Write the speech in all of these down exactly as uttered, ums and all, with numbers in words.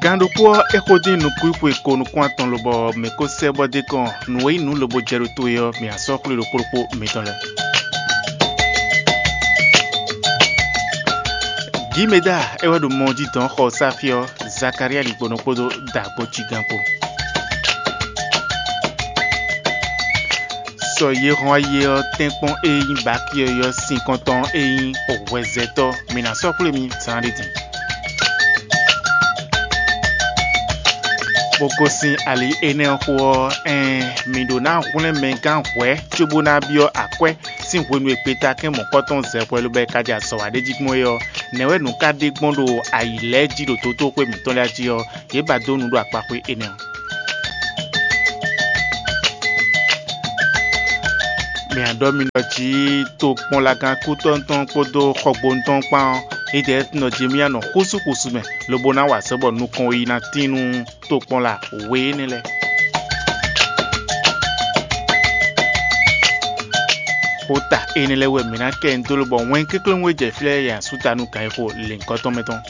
Gǎn ɖokpó ɔ́, é xo dín nukúnxwe ko nukún atɔn lobɔ mǐ ko sɛ́ bɔ d'é kɔn nǔ e nyí nǔ lobo jɛ ɖo to é ɔ́, mǐ ná sɔ́ xwlé ɖo kplɔ́kpó mitɔn lɛ́ɛ. Gǐmeda é wɛ ɖo mɔ jí dɔn xɔ sáfí ɔ́, Zakalía ɖigbɔnɔ kpódó dǎgbó cigán kpó. Sɔ yě hɔn ayi ɔ́ tɛ́nkpɔ́n e nyí Bakíɔ ɔ́ sín kɔntɔn e nyí hwɛzɛtɔ́, mǐ ná sɔ́ xwlé mi zán ɖé din. Bó gosín ali énɛ́ ɔ́ xo ɔ́, ɛɛn, mǐ ɖó ná hwlɛ́n mɛ gán hwɛ̌ cóbó ná byɔ́ akwɛ́ sín hwenu e gbeta kɛ́n mɔ̌kɔtɔn zɛ hwɛ lobɔ é ka jɛ azɔ̌ wa ɖ'é jí gbɔn é ɔ́, nɛ̌ wɛ nǔ ka ɖe gbɔn ɖo ayǐ lɛ́ɛ jí ɖo dotóxwé mǐtɔn lɛ́ɛ jí ɔ́, yě ba dó nǔ ɖo akpaxwé énɛ́ ɔ́. Mǐ ɖɔ mi ɖɔ jǐ tokpɔnlagán kútɔ́ tɔn kpódó xɔgbónu tɔn kpán ɔ́, édɛɛ nɔ Jemía nɔ xúsúxúsú mɛ, lobo ná wa azɔ̌ bɔ nukɔn yi ná tín nú tokpɔnla we énɛ́ lɛ́ɛ. Xota énɛ́ lɛ́ɛ wɛ mǐ ná kɛ nyi dó lobɔ wɛn kéklóŋú e jɛ fí lɛ́ɛ yɛ asúta nú gǎn e xo lěhunkɔtɔn mɛ tɔn.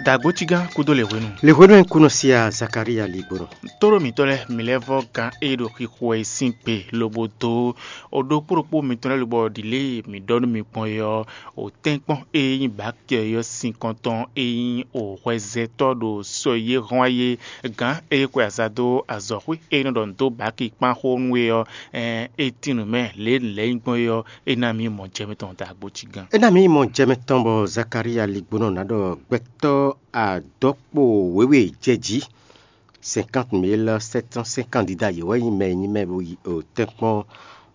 Dǎgbócígán kúdó lě hwenu. Lě hwenu e kúnɔ síá Zakalía ligbɔnɔ. Tóɖó mǐtɔn lɛ́ɛ, mǐ lɛ́ vɔ́ gán e ɖo xixo wɛ é sín gbe lobo dó o ɖokpó ɖokpó mitɔn lɛ́ɛ lobɔ ɖi lě e mǐ ɖɔ nú mi gbɔn é ɔ́, o tɛ́nkpɔ́n e nyí Bakíɔ é ɔ́ sín kɔntɔn e nyí o hwɛzɛtɔ́ ɖo sɔ e yě hɔn wá é, gǎn e xwe aza dó azɔ̌xwé e nɔ ɖɔ nǔ dó Baki kpán xó nú é ɔ́, ɛɛn, é tín nǔ mɛ lě e nǔ lɛ́ɛ nyí gbɔn é ɔ́, é ná mì mɔ jɛ mitɔn dǎgbócígán. É ná mì mɔ jɛ mitɔn bɔ Zakalía ligbónɔ ná ɖɔ gbɛtɔ́ adɔkpo wěwe jɛ jí cinquante mille sept cent cinquante candidats yě wɛ nyí mɛ e nyí mɛ bo yi o tɛ́nkpɔ́n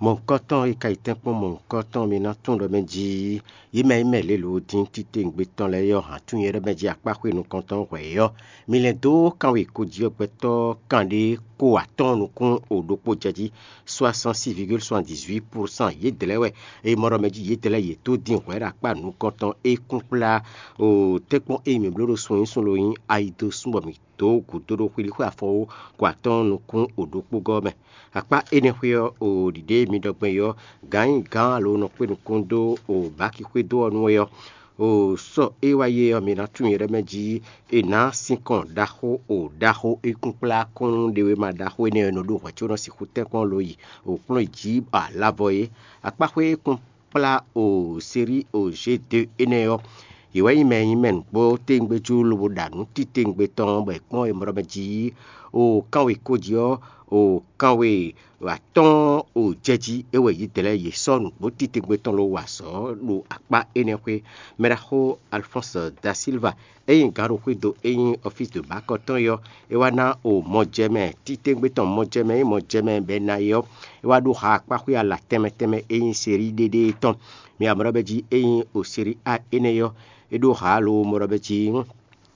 mɔ̌hunkɔtɔn e ka yi tɛ́nkpɔ́n mɔ̌hunkɔtɔn mi ná tunwun ɖɔ mɛ jí yě mɛ nyí mɛ lě lǒ dín titewungbe tɔn lɛ́ɛ ɔ́ hǎn tunwun nyɛ ɖɔ mɛ jí akpáxwé nukɔntɔn hwɛ̌ ɔ́, mi lɛ́ dó kanwe ko jí ɔ́ gbɛtɔ́ kanɖé ko atɔ́ɔ́n nukún o ɖokpó jɛ jí soixante-six virgule soixante-dix-huit pour cent yědɛɛ lɛ́ɛ wɛ. Eye mɔ ɖɔ mɛ jí yědɛɛ lɛ́ɛ yě tó dín hwɛ̌ ɖo akpá nukɔntɔn e kún kplá o tɛ́nkpɔ́n e mǐ bló ɖo sun nyí sun lo nyí ayi dó sún bɔ mǐ dó gǔdo ɖo xwilíxwé afɔwó ko atɔ́ɔ́n nukún o ɖokpó gɔ́ mɛ. Akpá énɛ́ xwé ɔ́, o ɖiɖe e mi ɖɔ gbɔn é ɔ́, gǎn nyi gǎn alo nɔ kpé nukún dó o bǎki xwé dó ɔ́ nú é ɔ́, o sɔ́ e wá yi é ɔ́, mi ná tunwun nyɛ ɖɔ mɛ jí è nǎ sinkɔn ɖaxó o ɖaxó e kún kplá kɔ́n nú ɖewéma ɖaxó énɛ́ e nɔ ɖó hwɛ̌ có nɔ sixú tɛ́nkpɔ́n lo yi o kplɔ́n yi jǐ alavɔ é. Akpáxwé e kún kplá o sérí o G deux énɛ́ ɔ́, yě wɛ nyí mɛ e nyí mɛ nǔgbó téwúngbéjú lobo ɖa nǔ titewungbe tɔn bɔ è kpɔ́n e mɔ ɖɔ mɛ jí o kanwe ko jí ɔ́, o kanwe atɔ́ɔ́n o jɛ jí é wɛ yě dlɛ̌ yě sɔ́ nǔgbó titewungbe tɔn lo wa azɔ̌ ɖo akpá énɛ́ xwé. Mɛɖaxó Alphonse da Silva e nyí gǎnɖoxwído e nyí ɔfísi de bǎkɔ tɔn é ɔ́, é wá ná o mɔjɛmɛ titewungbe tɔn mɔjɛmɛ e mɔjɛmɛ bɛ ná é ɔ́, é wá ɖó ha akpáxwé ala tɛnmɛ tɛnmɛ e nyí sérí ɖéɖée tɔn. Mi amɔ̌ ɖɔ bɛ́ jí é nyí o sérí A énɛ́ ɔ́, é ɖó ha alo mɔ ɖɔ bɛ́ jí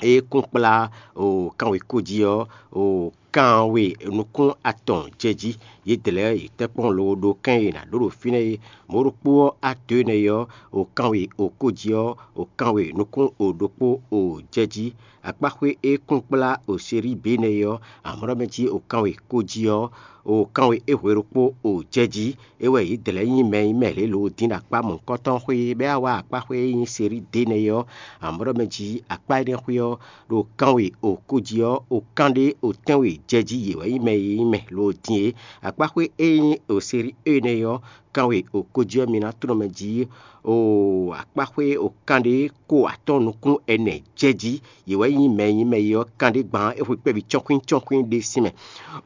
é kún kplá o kanwekó jí ɔ́, o kanwe nukún atɔn jɛ jí. Yědɛɛ lɛ́ɛ yě tɛ́ kpɔ́n lobo ɖó kɛ́n e è nǎ ɖó ɖo fínɛ́ é. Mɔ̌ ɖokpó ɔ́, á dǒ énɛ́ ɔ́, o kanwe o kó jí ɔ́, o kanwe nukún o ɖokpó o jɛ jí. Akpáxwé e kún kplá o sérí bǐ énɛ́ ɔ́, amɔ̌ ɖɔ mɛ jí o kanwe kó jí ɔ́, o kanwe e hwe ɖokpó o jɛ jí. É wɛ yě dlɛ̌ nyí mɛ e nyí mɛ lě lo dín ɖo akpá mɔ̌hunkɔtɔn xwé bɔ é wá akpáxwé e nyí sérí dě nɛ́ é ɔ́, amɔ̌ ɖɔ mɛ jí akpá énɛ́ xwé ɔ́, ɖo kanwe o kó jí ɔ́, o kanɖé o tɛ́nwe jɛ jí yě wɛ nyí mɛ e nyí mɛ lo dín é. Akpáxwé e nyí o sérí énɛ́ ɔ́, kanwe o kó jí ɔ́, mi ná tlɔ́n mɛ jí o akpáxwé o kanɖé ko atɔ́ɔ́n nukún ɛnɛ jɛ jí. Yě wɛ nyí mɛ e nyí mɛ e ɔ́, kanɖé gban é hwe kpɛ́ví cɔ́nkwín cɔ́nkwín ɖé sín mɛ.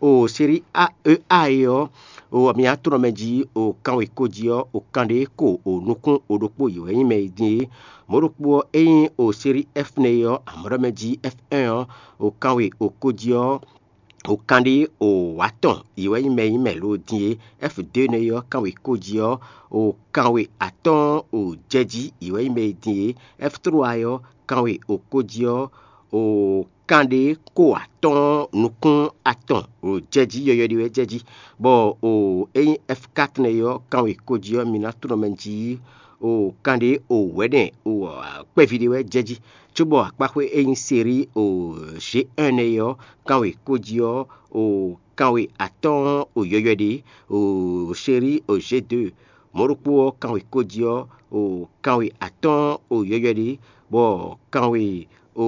O sérí A E A é ɔ́, o mi ná tlɔ́n mɛ jí o kanwe kó jí ɔ́, o kanɖé ko o nukún o ɖokpó yě wɛ nyí mɛ e dín é. Mɔ̌ ɖokpó ɔ́, é nyí o sérí F nɛ́ é ɔ́, amɔ̌ ɖɔ mɛ jí F un ɔ́, o kanwe o kó jí ɔ́, o kanɖé o atɔn yě wɛ nyí mɛ e nyí mɛ lo dín é. F deux nɛ́ é ɔ́, kanwe kó jí ɔ́, o kanwe atɔ́ɔ́n o jɛ jí yě wɛ nyí mɛ e dín é. F trois é ɔ́, kanwe o kó jí ɔ́, o kanɖé ko atɔ́ɔ́n nukún atɔn o jɛ jí, yɔyɔ ɖé wɛ jɛ jí. Bɔ o é nyí F quatre nɛ́ é ɔ́, kanwe kó jí ɔ́, mi ná tlɔ́n mɛ jí o kanɖé o wɛ̌nɛ o kpɛ́ví ɖé wɛ jɛ jí. Cóbɔ akpáxwé e nyí sérí o G un nɛ́ é ɔ́, kanwe kó jí ɔ́, o kanwe atɔ́ɔ́n o yɔyɔ ɖé, o sérí o G deux, Mɔ̌ ɖokpó ɔ́, kanwe ko jí ɔ́, o kanwe atɔ́ɔ́n o yɔywɛ ɖé, bɔ kanwe o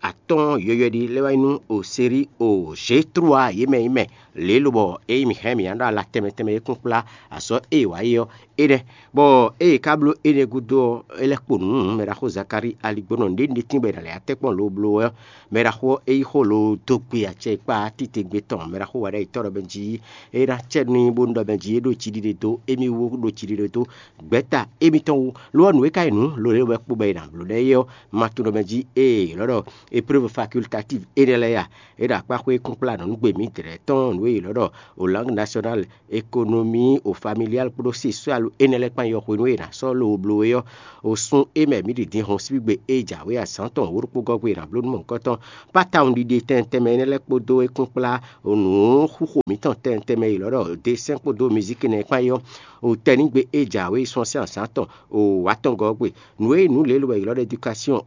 atɔ́ɔ́n yɔywɛ ɖé lɛ́ wá nyí nú o sérí o Zétrua yě mɛ nyí mɛ lě lobɔ ényí mǐ hɛn mǐ ná ɖo ala tɛnmɛ tɛnmɛ e kún kplá azɔ̌ e è wǎ é ɔ́, é nɛ́. Bɔ ée è ka bló énɛ́ gúdo ɔ́, é lɛ́ kpo nǔ nú mɛɖaxó Zakalíi aligbónɔ ɖěɖín bɔ è nǎ lɛ́ wá tɛ́nkpɔ́n lo bló ɔ́, mɛɖaxó ɔ́, é yí xó lo dó gbe acɛ e kpá títewungbe tɔn mɛɖaxó wɛ ɖ'ayǐ tɔ́ ɖɔ mɛ jí é ná cɛ n'i bónú ɖɔ mɛ jí é ɖo jiɖiɖe dó émí wú ɖo jiɖiɖe dó gbɛ̌ta émítɔn wú. Lo ɔ́, nǔ e ka nyí nǔ lo lě wɛ kpo bɔ è nǎ bló ɖɛ é ɔ́, ma tunwun ɖɔ mɛ jí ée è nɔ ɖɔ épreuve facultative énɛ́ lɛ́ɛ a? É ɖo akpá xwé kúnkplánɔ nǔ gbe mǐdɛɛ tɔn nǔ e è nɔ ɖɔ o langue nationale, économie o familiale kpódó sexuale énɛ́ lɛ́ɛ kpán yɔxwenu e è nǎ sɔ́ lo bló é ɔ́, o sun é mɛ mǐ ɖi din hɔn síbígbe e jǎwe azǎn tɔn wǒ ɖokpó gɔ́ gbe è nǎ bló nú mɔ̌hunkɔtɔn. Pátawun ɖiɖe tɛntɛnmɛ énɛ́ lɛ́ɛ kpódó é kpán kplá nǔ xúxo mǐtɔn tɛntɛnmɛ e è nɔ ɖɔ desɛ́n kpódó mizíki nɛ́ kpán é ɔ́, o tɛnígbe e jǎwe sɔ́n sín azǎn tɔn o wǎtɔngɔ́ ɔ́ gbe. Nǔ e nyí nǔ lě e è nɔ ɖɔ édukasiɔn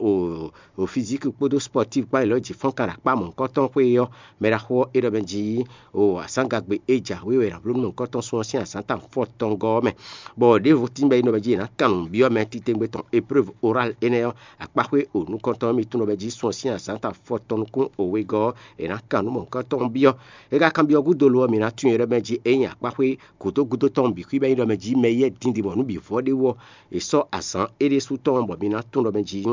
o fizíki kpódó spɔ́tív kpán è nɔ jǐ fɔ́n kan ɖo akpá mɔ̌hunkɔtɔn xwé é ɔ́, mɛɖaxó ɔ́, é ɖɔ mɛ jí o azǎngagbe e jǎwe wɛ è nǎ bló nú mɔ̌hunkɔtɔn sɔ́n ɔ́ sín azǎn tɔn fɔ́tɔngɔ́ ɔ́ mɛ. Bɔ ɖěvo tín bɔ é nɔ mɛ jí è nǎ kan nǔ byɔ́ mɛ titewungbe tɔn épreuve orale énɛ́ ɔ́, akpá xwé o nukɔntɔn ɔ́, mi tunwun ɖɔ mɛ jí sɔ́n ɔ́ sín azǎn tɔn fɔ́tɔn nukún o wegɔ́ ɔ́, è nǎ kan nǔ mɔ̌hunkɔtɔn byɔ́. É ka kanbyɔ́ gúdo lo ɔ́, mǐ ná tunwun ɖɔ mɛ jí ényí akpá xwé gǔdo gúdo tɔn bǐ xwí bɔ é nyí ɖɔ mɛ jí mɛ yɛ́ din din bɔ nǔ bǐ vɔ ɖé wú ɔ́, è sɔ́ azǎn é ɖésú tɔn bɔ mi ná tunwun ɖɔ mɛ jí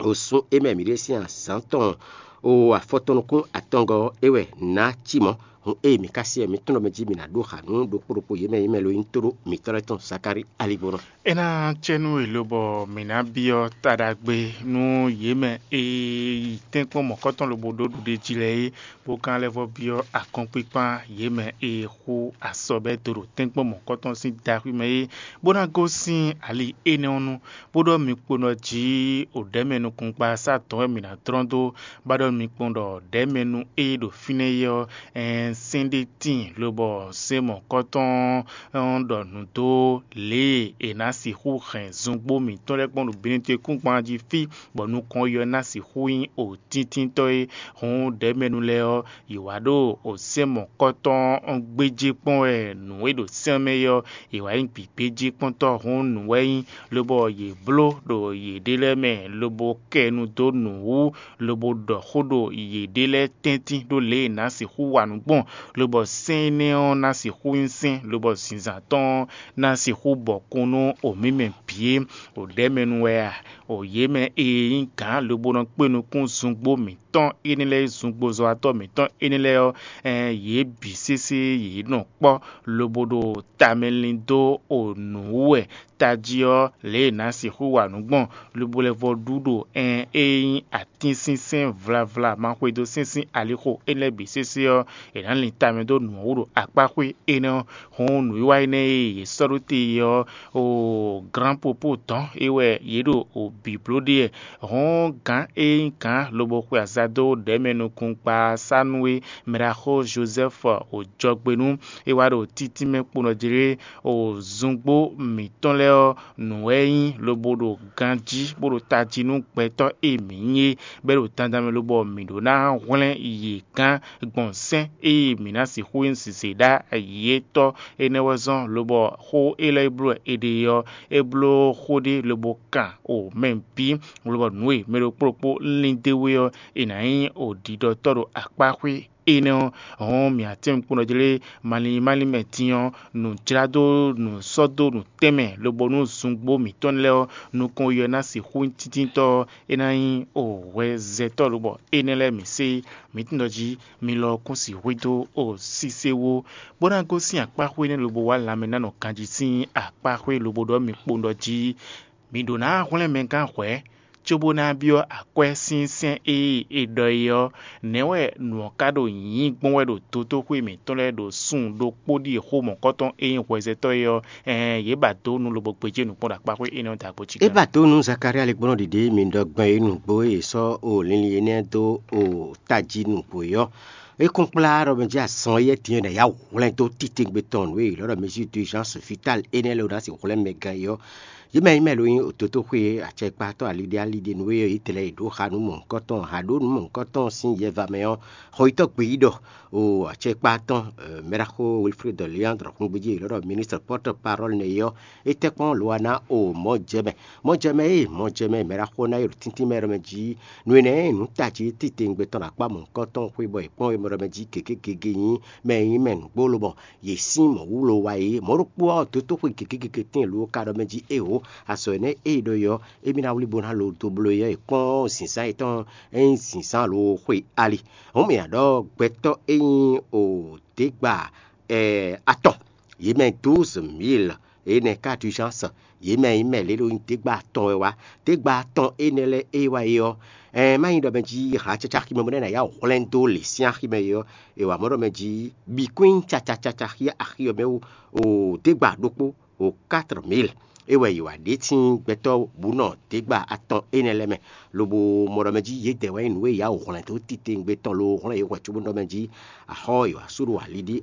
o sun é mɛ mǐ ɖe sín azǎn tɔn o afɔtɔn nukún atɔngɔ́ ɔ́, é wɛ nǎ cí mɔ̌. Hun ée mǐ ka syɛ́ mǐ tunwun ɖɔ mɛ jí mǐ ná ɖó xǎnu ɖokpó ɖokpó yě mɛ yě mɛ lo nyí tóɖó mǐtɔn lɛ́ɛ tɔn Zakalíi aligbónɔ. É ná cɛ nú è lobɔ mǐ ná byɔ́ ta ɖagbe nú yě mɛ e yi tɛ́nkpɔ́n mɔ̌kɔtɔn lobo ɖó ɖuɖéjí lɛ́ɛ é, bó ka lɛ́ vɔ́ byɔ́ akɔ́nkpíkpán yě mɛ e xú asɔbɛ́ do ɖo tɛ́nkpɔ́n mɔ̌kɔtɔn sín daxwí mɛ é, bó ná gosín ali énɛ́ ɔ́ nu, bó ɖɔ mi kpo ɖɔ jí o ɖɛ̌ mɛ nukúngbasá dɔn wɛ mǐ ná dlɔ́n dó, bó ɖɔ mi kpɔ́n ɖɔ ɖɛ̌ mɛ nú é ɖo fínɛ́ é ɔ́, ɛɛn sɛ́n ɖé tíin lobɔ sɛ́n mɔ̌kɔtɔn ɔ́ ɖɔ nǔ dó lě e è nǎ sixú hɛn zungbó mǐtɔn lɛ́ɛ kpɔ́n ɖo Benɛtɔ́ kúngban jí fí, bɔ nukɔn yɔ ná sixú nyí o tíntínntɔ́ é. Hǔn ɖɛ̌mɛnu lɛ́ɛ ɔ́, yě wá ɖo sɛ́n mɔ̌kɔtɔn ɔ́ gbéjé kpɔ́n wɛ nǔ e ɖo sɛ́n mɛ é ɔ́, yě wá nyí gbǐgbéjé kpɔ́ntɔ́ hǔn nǔ wɛ nyí, lobɔ yě bló ɖo yěɖée lɛ́ɛ mɛ, lobo kɛ nu dó nǔ wú, lobo ɖɔ xó ɖo yěɖée lɛ́ɛ tɛ́ntin ɖó lě e è nǎ sixú wa nǔ gbɔn, lobɔ sɛ́n énɛ́ ɔ́ ná sixú nyí sɛ́n, lobɔ zinzǎn tɔn ɔ́ ná sixú bɔkun nú o mǐ mɛ bǐ é. O ɖɛ̌mɛnu wɛ a? O yě mɛ e nyí gǎn lobo nɔ kpé nukún zungbó mǐtɔn énɛ́ lɛ́ɛ, zungbozɔ́watɔ́ mǐtɔn énɛ́ lɛ́ɛ ɔ́, ɛɛn yě bǐ sésé yě nɔ kpɔ́ lobo ɖo tamɛ lin dó o nǔ wú wɛ tají ɔ́, lě e è nǎ sixú wa nǔ gbɔn, lobo lɛ́ vɔ ɖu ɖo ɛɛn e nyí atínsínsɛ́n vlavla ma xwedó sín sín alixo énɛ́ lɛ́ɛ bǐ sésé ɔ́, è nǎ lin tamɛ dó nǔ ɔ́ wú ɖo akpá xwé énɛ́ ɔ́. Hǔn nǔwiwa énɛ́ e yě sɔ́ ɖó te ɔ́, o glǎnpopo dɔ̌n é wɛ yě ɖo o bǐbló ɖe wɛ. Hǔn gǎn e nyí gǎn lobo xwe aza dó ɖɛ̌mɛ nukúnkpa sá nú é, mɛɖaxó Jozɛ́fu o jɔgbe nú é wá ɖo títínmɛ kponɔ jlé o zungbó mǐtɔn lɛ́ɛ ɔ́, nǔ wɛ é nyí lobo ɖo ganjí bó ɖo tají nú gbɛtɔ́ e mǐ nyí é, bɔ é ɖo dandan mɛ lobɔ mǐ ɖó ná hwlɛ́n yě gán gbɔn sɛ́n e mǐ ná sixú nyí zǐzé ɖá yětɔn. Énɛ́ wɛ zɔ́n lobɔ xó élɔ́ e bló wɛ è ɖe ɔ́, é bló xó ɖé lobo kan o mɛ bǐ, lobɔ nǔ e mɛ ɖokpó ɖokpó lín d'é wú é ɔ́, è nǎ nyí o ɖiɖɔtɔ́ ɖo akpá xwé énɛ́ ɔ́, hɔn mǐ atɛ́nukúnɔ jlé malín malín mɛ din ɔ́, nǔjládó nǔsɔ́dó nǔtɛnmɛ lobo nú zungbó mǐtɔn lɛ́ɛ ɔ́, nukɔn ɔ́ ná sixú nyí tíntínntɔ́ ɔ́, é ná nyí o hwɛzɛtɔ́ lobɔ énɛ́ lɛ́ɛ mǐ sé. Mǐ tunwun ɖɔ jí mi lɔ kún sixú dó o sise wú, bó ná gosín akpáxwé énɛ́ lobo wá lanmɛ ná nɔ ganjí sín akpáxwé lobo ɖɔ mi kpowun ɖɔ jí mi ɖǒ ná hwlɛ́n mɛ gán hwɛ̌, cóbó ná byɔ́ akwɛ́ sín sɛ́n e è ɖɔ é ɔ́, nɛ̌ wɛ nǔ ɔ́ ka ɖo nyǐ gbɔn wɛ ɖo dotóxwé mǐtɔn lɛ́ɛ ɖo sun ɖokpó ɖíe xó mɔ̌kɔtɔn e nyí hwɛzɛtɔ́ é ɔ́, ɛɛn yě ba dó nú lobo gbéjé nǔkpɔ́n ɖo akpáxwé énɛ́ ɔ́ dǎgbó jí. É ba dó nú Zakalía ligbɔ́nɔ ɖiɖe mi ɖɔ gbɛn e nǔgbó e è sɔ́ o linlin énɛ́ dó o tají nǔgbó é ɔ́. É kún kplá ɖɔ mɛ jí azɔn éyɛ́ din ɔ́ ɖo yǎ hwlɛ́n dó titewungbe tɔn nǔ e è ylɔ́ ɖɔ mesure d'urgence vitale énɛ́ lɛ́ɛ ná sixú hwlɛ́n mɛ gán é ɔ́. Yě mɛ nyí mɛ ló nyí òtótóxwé acɛkpatɔ́ aliɖé aliɖé nú é yí tlɛ yi ɖó xa nú mɔ̌hunkɔtɔn, ha ɖó nú mɔ̌hunkɔtɔn sín yɛva mɛ ɔ́, xɔyítɔ́ gbeyíɖɔ o acɛkpatɔ́ mɛɖaxó Wilfred Leandre xungbejí e lɔ́ ɖɔ ministre porte parole nɛ é ɔ́, é tɛ́ kpɔ́n Luana o mɔ̌ jɛ mɛ. Mɔ̌ jɛ mɛ e mɔ̌ jɛ mɛ mɛɖaxó ná yi ɖo tíntín mɛ ɖɔ mɛ jí nú énɛ́ e nǔ tají titewungbe tɔn ɖo akpá mɔ̌hunkɔtɔn xwé bɔ è kpɔ́n é mɛ ɖɔ mɛ jí gěgé gěgé nyí mɛ e nyí mɛ nǔgbó lobɔ yě sín mɔ̌ wú lo wa é. Mɔ̌ ɖokpó ɔ́, dǒtóxwe gěgé gěgé tíin lo ka ɖɔ mɛ jí éwo, azɔ̌ énɛ́ e è ɖɔ é ɔ́, émí ná wlí bó ná lo dó bló é ɔ́, è kpɔ́n zǐnzán yětɔn e nyí zǐnzán lo xwe ali. Hǔn mǐ ná ɖɔ gbɛtɔ́ e nyí o děgba atɔn, yě mɛ douze mille énɛ́ ka d'urgence, yě mɛ nyí mɛ lě ɖo nyi dégba atɔn wɛ wá. Dégba atɔn énɛ́ lɛ́ɛ é wá é ɔ́, ɛɛ má nyí ɖɔ mɛ jí hǎ caca ximɛ bɔ nɛ́ ná yá hwlɛ́n dó lě sín axi mɛ é ɔ́, è wǎ mɔ ɖɔ mɛ jí bǐ kún nyí caca caca xí axi ɔ́ mɛ wú o dégba ɖokpó o quatre mille. É wɛ yě wá ɖe sín gbɛtɔ́ bǔ nɔ dégba atɔn énɛ́ lɛ́ɛ mɛ, lobo mɔ ɖɔ mɛ jí yědɛɛ wɛ nyí nǔ e yá hwlɛ́n dó titewungbe tɔn lo hwlɛ́n yě hwɛ cóbó nɔ mɛ jí axɔ́ yě wá sú ɖo ali ɖí